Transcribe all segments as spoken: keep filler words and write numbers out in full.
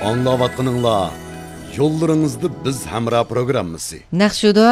ئاڭلاۋاتقىنىڭلار يوللىرىڭىزدا بىز ھەمراھ پروگراممىسى. نەق شۇدۇ؟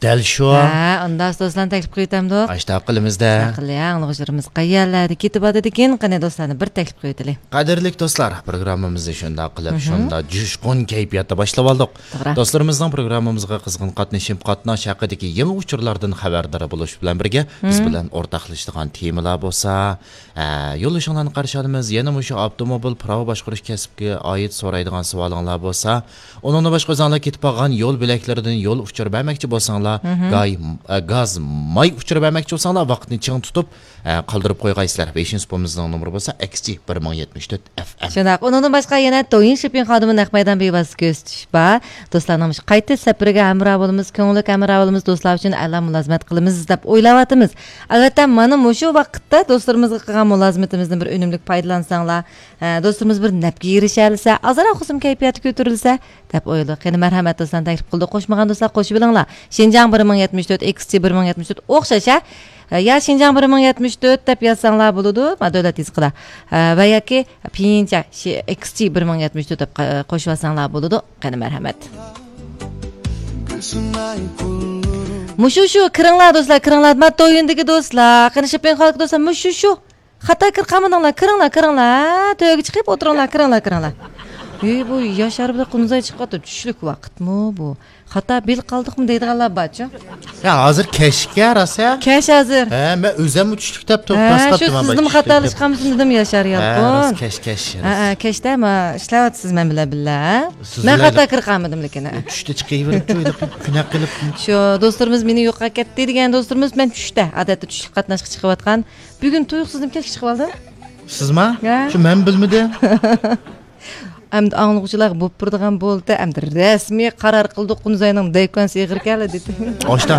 دەل شۇ. ھە، ئۇنداق دوستلارنى تەكلىپ قىلىۋېتەمدۇق؟ ئاشتاق قىلىمىز-دە. شۇنداق قىلىڭ، ئاڭلىغۇچىلىرىمىز قەيەرلەردە كېتىۋاتىدىكىن؟ قېنى، دوستلارنى بىر تەكلىپ قىلىۋېتەيلى. قەدىرلىك دوستلار، پروگراممىمىزنى شۇنداق قىلىپ، مهم. شۇنداق جۇشقۇن كەيپىياتتا باشلىۋالدۇق. توغرا. دوستلىرىمىزنىڭ پروگراممىمىزغا قىزغىن قاتنىشىپ، قاتناش ھەققىدىكى يېڭى ئۇچۇرلاردىن خەۋەردار بولۇش بىلەن بىرگە، بىز مهم. بىلەن ئورتاقلىشىدىغان تېمىلار بولسا، ئە، يوللىشىڭلارنى قارشى ئالىمىز. يەنە مۇشۇ ئاپتوموبىل پىراۋا باشقۇرۇش كەسپىگە ئائىت سورايدىغان سوئالىڭلار بولسا، ئۇنىڭدىن باشقا ئۆزۈڭلار كېتىپ قالغان يول بۆلەكلىرىدىن يول ئۇچۇر بەرمەكچى بولساڭلار، مهم. گاي-، ئە، گاز، ماي ئۇچۇر بەرمەكچى بولساڭلار، ۋاقىتنى چىڭ تۇتۇپ، ئە، قالدۇرۇپ قويغايسىلەر. بېشىنچى پومىزنىڭ نومۇرى بولسا ئەكس جى بىر مىڭ يەتمىش تۆت ئەف ئېم. شۇنداق. ئۇنىڭدىن باشقا يەنە تويىن شېپىڭ خادىمى نەق مەيدان بىۋاسىتە كۆرسىتىش بار. دوستلارنىڭ مۇشۇ قايتىش سەپىرىگە ھەمراھ بولىمىز، كۆڭۈللۈك ھەمراھ بولىمىز، دوستلار ئۈچۈن ئەلا مۇلازىمەت قىلىمىز دەپ ئويلاۋاتىمىز. ئەلۋەتتە، مانا مۇشۇ ۋاقىتتا دوستلىرىمىزغا قىلغان مۇلازىمىتىمىزدىن بىر ئۈنۈملۈك پايدىلانساڭلار، ھە، دوستلىرىمىز بىر نەپكە ئېرىشەلىسە، ئازراق بولسىمۇ كەيپىياتى كۆتۈرۈلسە دەپ ئويلىدۇق. قېنى، مەرھەمەت، دوستلارنى تەكلىپ قىلدۇق. قوشمىغان دوستلار قوشۇۋېلىڭلار. شىنجاڭ بىر مىڭ يەتمىش تۆت، ئېكس جى بىر مىڭ يەتمىش تۆت ئوخشاش، ھە؟ يا شىنجاڭ بىر مىڭ يەتمىش تۆت دەپ يازساڭلار بولىدۇ، ما دۆلەت يېزىقىدا. ھە، ۋە ياكى پيىنچا شى-، ئېكس جى بىر مىڭ يەتمىش تۆت دەپ قا-، قوشۇۋالساڭلار بولىدۇ. قېنى، مەرھەمەت. مۇشۇ شۇ، كىرىڭلار دوستلار، كىرىڭلار. ما تويۇندىكى دوستلار، قېنى، شېپىڭ خالىدىكى دوستلار، مۇشۇ شۇ. خاتا كىرىپ قالمىدىڭلار، كىرىڭلار، كىرىڭلار. ھە، تۆگە چىقىپ ئولتۇرۇڭلار، كىرىڭلار، كىرىڭلار. ئەي، بۇ ياشار بىلەن قۇنزاي چىقىۋاتىدۇ، چۈشلۈك ۋاقىتمۇ بۇ؟ خاتا بىل قالدۇقمۇ دەيدىغانلار بارچۇ؟ يا، ھازىر كەچكە راسا. كەچ ھازىر. ھە، مەن ئۆزۈممۇ چۈشلۈك دەپ تۇرۇپ ھە، شۇ تاسلاپتىمەن، سىزنىمۇ چۈشلۈك دەپ. خاتالىشقانمىسىمۇ دېدىم، ياشار ھە، يالقۇن. راست، كەچ، كەچ، ھە، راست. ھە، كەچتە ما ئىشلەۋاتىسىز مەن بىلەن بىللە، ھە؟ سىز مەن بىلەن خاتا كىرىپ قالمىدىملىكىن، ھە. چۈشتە چىقىۋېرىپچۇ، كۈنە قىلىپ. شۇ دوستلىرىمىز مېنى يوقاپ كەتتى دېگەن دوستلىرىمىز، مەن چۈشتە، ئادەتتە چۈشلۈك قاتناشقا چىقىۋاتقان. بۈگۈن تۇيۇقسىزدىن كەچكە چىقىۋالدىم. ھە؟ شۇ مەن بىلمىدىم. ئەمدى ئاڭلىغۇچىلارغا بوپ بېرىدىغان بولدى. ئەمدى رەسمىي قارار قىلدۇق، قۇنزاينىڭ دەيكۇەنسى ئېغىر كەلدى دېدى. ئاشتا،